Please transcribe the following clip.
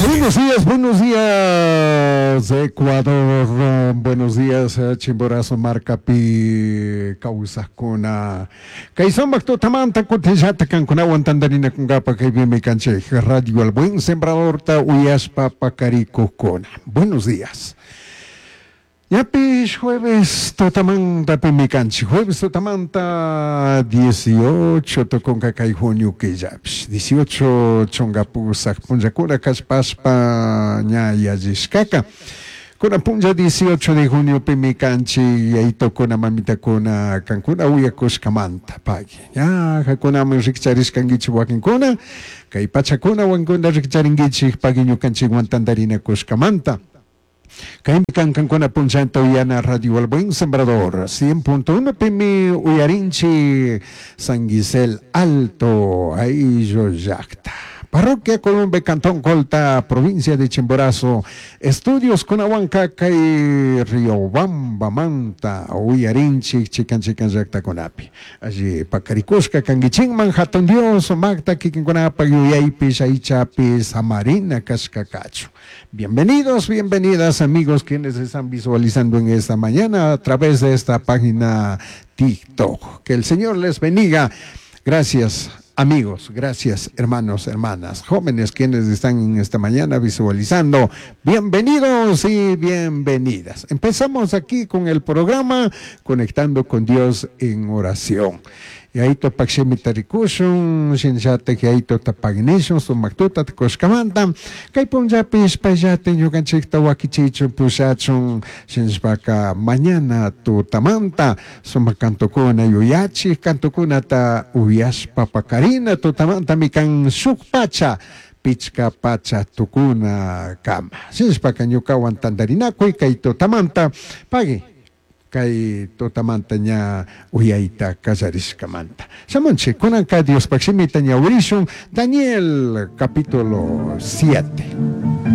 Buenos días, buenos días, Ecuador. Buenos días, Chimborazo markapi kawsakuna. Kay sumak tutamanta kutinllata kankunawan tantarinakunkapa kaypimi kanchik Radio El Buen Sembradorta uyashpa pakarikukkuna. Buenos días. Ñapish jueves tutamantapimi kanchik. Jueves tutamanta 18 tukunka kay junio killapish. 18 chunka pusak punllakuna kashpashpa ña yallishkaka. Kunan punlla 18 de juniopimi kanchik yayitokuna mamitakuna kankuna uyakushkamanta pagui. Ña hakunaman rikcharishkankichik wakinkuna kay pachakuna wakinkuna rikcharinkichik pagui ñukanchikwan tantarinakushkamanta. Kaymi kan kankuna punllanta uyana Radio El Buen Sembrador 100.1 pimi uyarinchi San Gisel Alto ayllu llakta. Parroquia Columbe, Cantón Colta, provincia de Chimborazo. Estudios kunawanka kay Riobamba manta uyarinchik chikan chikan llaktakunapi. Alli pakarikushka kankichikman hatun Dios sumakta kikinkunapak yuyaypish aychapi samarina kashka kachun. Bienvenidos, bienvenidas amigos quienes están visualizando en esta mañana a través de esta página TikTok. Que el Señor les bendiga. Gracias amigos, gracias hermanos, hermanas, jóvenes quienes están en esta mañana visualizando. Bienvenidos y bienvenidas. Empezamos aquí con el programa Conectando con Dios en Oración. Yayito pakshimita rikushun, shinallatak yayitota paginishun, sumaktuta kushkamanta, kay punllapish payllata ñukanchikta wakichichun pushachun, shinashpaka mañana tutamanta, sumak kantukuna yuyachik kantukunata uyashpa pakarina tutamantami kan shuk pacha, pichka pacha tukuna kama. Shinashpaka ñukawan tantarinakuy kay tutamanta, pagui. Kay tutamanta ña uyayta kallarishkamanta. Shamunchik, kunanka Diospaq shimita ñawirishun, Daniel capítulo 7.